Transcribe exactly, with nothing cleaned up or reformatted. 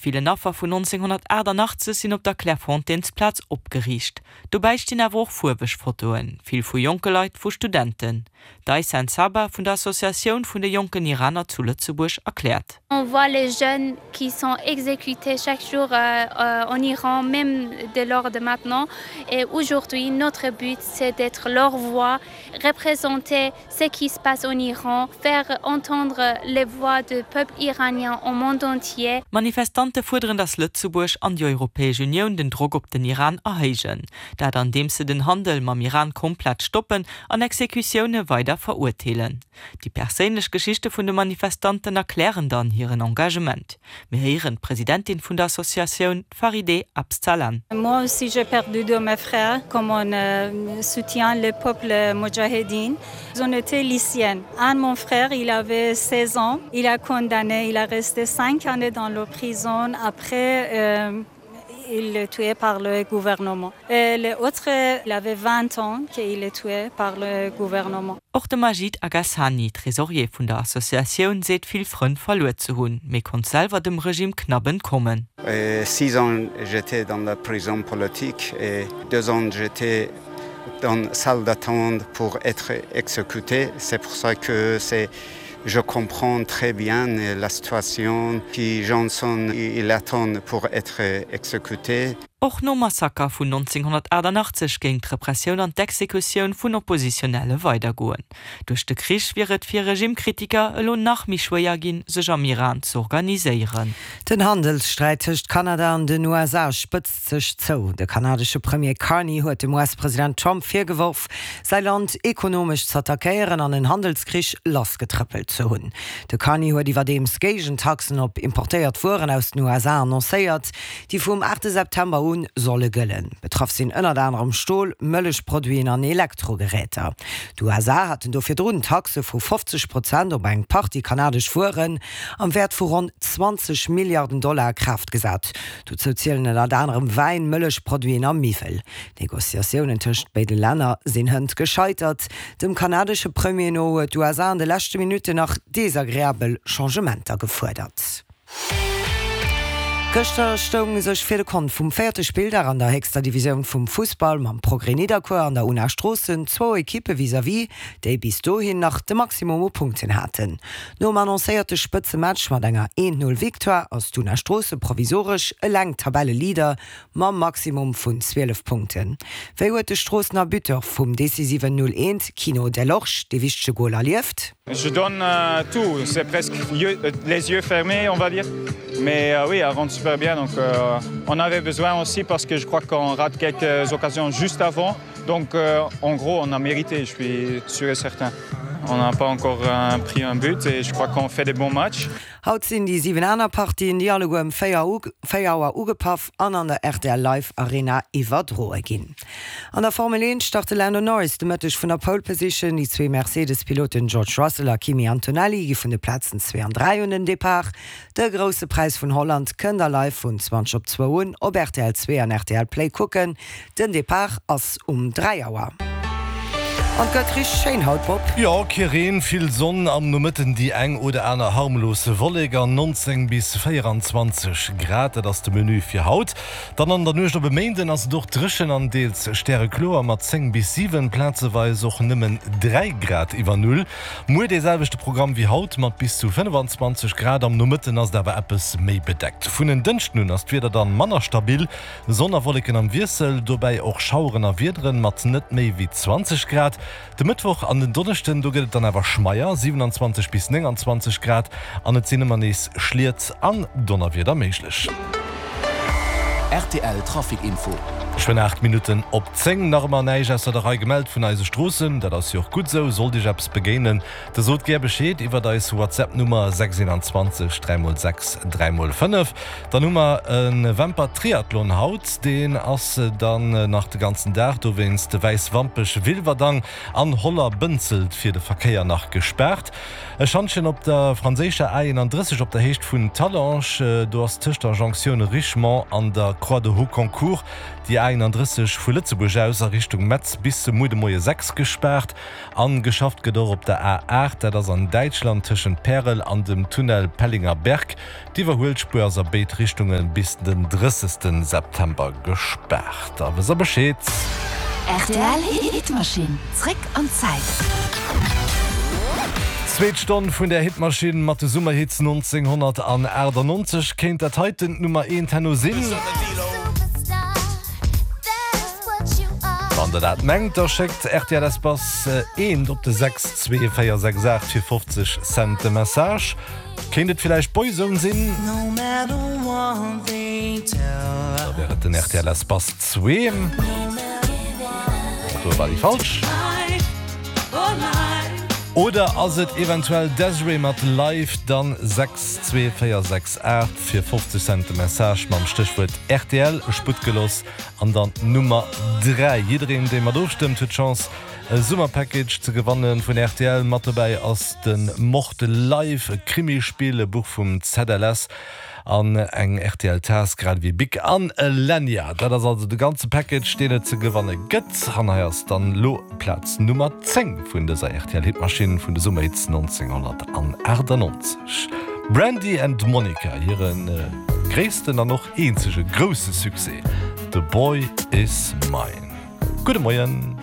Villen Affer vun nonzénghonnertaachtanachtzeg sinn op der Clairefontainesplaz opgeriicht. Dobäi stinn awer och fuerweg Fotoen, vill vu jonke Leit, vu Studenten. D'Aysen Saba vun der Associatioun vun de jonken Iraner zu Lëtzebuerg erkläert. On voit les jeunes qui sont exécutés chaque jour en Iran, même de l'heure de maintenant. Et aujourd'hui, notre but, c'est d'être leur voix, représenter ce qui se passe en Iran, faire entendre les voix du peuple iranien au monde entier. D'Manifestante fuerderen, datt Lëtzebuerg an déi Europäesch Unioun den Drock op den Iran erhéijen. Dat andeems se den Handel mam Iran komplett stoppen an Exekutioune weider verurteelen. Déi perséinlech Geschichte vun de Manifestanten erklären dann hiren Engagement. Mir héieren d'Presidentin vun der Associatioun, d'Farideh Absalan. Moi aussi j'ai perdu deux mes frères, comme on soutient le peuple moudjahidine. On était lycéennes. Un mon frère, il avait seize ans, il a condamné, il a resté cinq années dans la prison. Après, il est tué par le gouvernement. Et l'autre, il avait vingt ans qu'il est tué par le gouvernement. Och de Majid Agassani, Tresorier vun der Associatioun, seet vill Frënn verluer ze hunn, mee konnt selwer dem Regime knapp entkommen. Six ans j'étais dans la prison politique et deux ans j'étais dans salle d'attente pour être exécuté. C'est pour ça que c'est je comprends très bien la situation qui Johnson il attend pour être exécuté. Och nom Massaker vun nonzénghonnertaachtannachtzeg géing d'Repressioun an d'Exekutioun vun Oppositionelle weidergoen. Duerch de Krich wier et fir Regimekritiker elo nach méi schwéier ginn, sech am Iran z'organiséieren. Den Handelssträit tëscht Kanada an den U S A spëtzt sech zou. De kanadesche Premier Carney huet dem U S-President Trump virgeworf, säi Land ekonomesch z'attackéieren an en Handelskrich lassgetrëppelt ze hunn. De Carney huet iwwerdeems Géigentaxen op importéiert Wueren aus den U S A annoncéiert, déi vum aachte September u solle gëllen. Betraff sinn ënnert anerem Stol, Mëllechproduiten an Elektrogeräter. D'U S A haten do virdrun Taxe vu fofzeg Prozent op eng Partie kanadesch Wueren am Wäert vu ronn zwanzeg Milliarden Dollar a Kraaft gesat. Dozou zielen ënnert anerem Wäin, Mëllechproduiten a Miwwel. D'Negociatiounen tëscht béide Länner sinn hënt gescheitert. Dem kanadesche Premier no huet d'U S A an de leschte Minutten nach desagreabel Changementer gefuerdert. Gëschter stoung sech fir de Kont vum véierte Spilldag an der héchster Divisioun vum Fussball mam Progrès Nidderkuer an der Una Stroossen zwou Ekippe vis-à-vis, déi bis dohin nach de Maximum u Punkten haten. Nom annoncéierte Spëtzematch mat enger eent-null-Victoire ass d'Una Stroosse provisoresch eleng Tabelleleader mam Maximum vun zwielef Punkten. Wéi huet de Stroossener Buteur vum decisiven null eent Kino Delorge dee wichtege Gol erlieft? Je donne tout, c'est presque les yeux fermés, on va dire. Mais oui, elle rentre super bien, donc on avait besoin aussi parce que je crois qu'on rate quelques occasions juste avant. Donc en gros, on a mérité, je suis sûr et certain. On n'a pas encore pris un but et je crois qu'on fait des bons matchs. Haut sinn déi siwen aner Partien, déi alleguer ëm véier Auer ugepaff an an der R T L Live Arena iwwerdroe ginn. An der Formel eent start de Lando Norris de Mëtteg vun der Pole Position. Déi zwee Mercedes-Piloten George Russell a Kimi Antonelli gi vun de Plazen zwee an dräi un den Depart. De grousse Präis vun Holland kënnt der live vun zwanzeg op zwou un op R T L zwee an R T L Play kucken. Den Depart ass um dräi Auer. An et gëtt richteg schéin haut, Bob. Jo, kee Reen, vill Sonn, am Nomëtten déi eng oder aner harmlos Wollek an nonzéng bis véieranzwanzeg Grad, dat ass de Menü fir haut. Dann an der Nuecht op e Méinden ass et och dréchen an deels stärekloer mat zéng bis siwen, plazeweis och nëmmen dräi Grad iwwer Null. Muer dee selwechte Programm wéi haut mat bis zu fënnefanzwanzeg Grad, am Nomëtten ass et awer eppes méi bedeckt. Vun en Dënschden un ass d'Wieder dann manner stabil, Sonn a Wolleken am Wiessel, dobäi och Schaueren a Wiederen mat net méi wéi zwanzeg Grad. De Mëttwoch an den Donneschden, do gëtt et dann awer schmeier, siewenundzwanzeg bis nénganzwanzeg Grad, an et sinn ëmmer nees Schliet an Donnerwieder méiglech. R T L Trafic Info. Schonn aacht Minutten op zéng, nach ëmmer näischt ausser der Rei gemellt vun eise Stroossen. Dat ass jo och gutt esou. Sollt Iech eppes begéinen, da sot gär Bescheed iwwer eis WhatsApp-Nummer sechs eenanzwanzeg dräi mol sechs dräi mol fënnef. Dann hu mer e Wemper-Triathlon haut, deen ass dann nach de ganzen Dag dowéinst Wäiswampech-Wilwerdang an Holler-Bënzelt fir de Verkéier nach gespaart. E Schantjen op der franséischer A eenanddrësseg op der Héicht vun Talange, do ass tëscht der Jonktioun Richemont an der Croix de Houconcourt déi déi A eenandrësseg vu Lëtzebuerg aus a Richtung Metz bis muer de Moie sechs gespaart. An geschafft gëtt och op der A aacht, dat ass an Däitschland tëschent Pärel an dem Tunnel Pellingerberg. D'Iwwerhuelspuer ass a béid Richtunge bis den drëssegste September gespaart. A wësst der Bescheed. Rtl Hitmaschinn, zréck an d'Zäit. Zweet Stonn vun der Hitmaschinn mat de Summerhits nonzénghonnertachtannonzeg. Kéint dat heiten d'Nummer eent herno sinn? Wann der dat mengt, da schéckt rtl Espace eent op de sechs zwee véier sechs aacht fir fofzeg Cent de Message. Kéint et villäicht Boyzone sinn? Da wär et den rtl Espace zwee. Do war déi falsch. Oder ass et eventuell Desiree mat Life? Dann sechs zwee véier sechs aacht fir fofzeg Cent de Message mam Stéchwuert rtl, Sputtgeloss an dann d'Nummer dräi. Jiddereen dee mat ofstëmmt huet d'Chance e Summerpackage ze gewanne vun rtl. Mat dobäi ass de Mord Live, e Krimispill, e Buch vum Z L S an eng R T L Taass grad ewéi Bic an e Lanyard. Dat ass also de ganze Package deen et ze gewanne gëtt. An hei ass dann elo Plaz Nummer zéng vun dëser R T L Hitmaschinn vun de Summerhits nonzénghonnertachtannonzeg. Brandy and Monica, hire gréissten an och eenzege grousse Succès, The Boy Is Mine. Gudde Moien.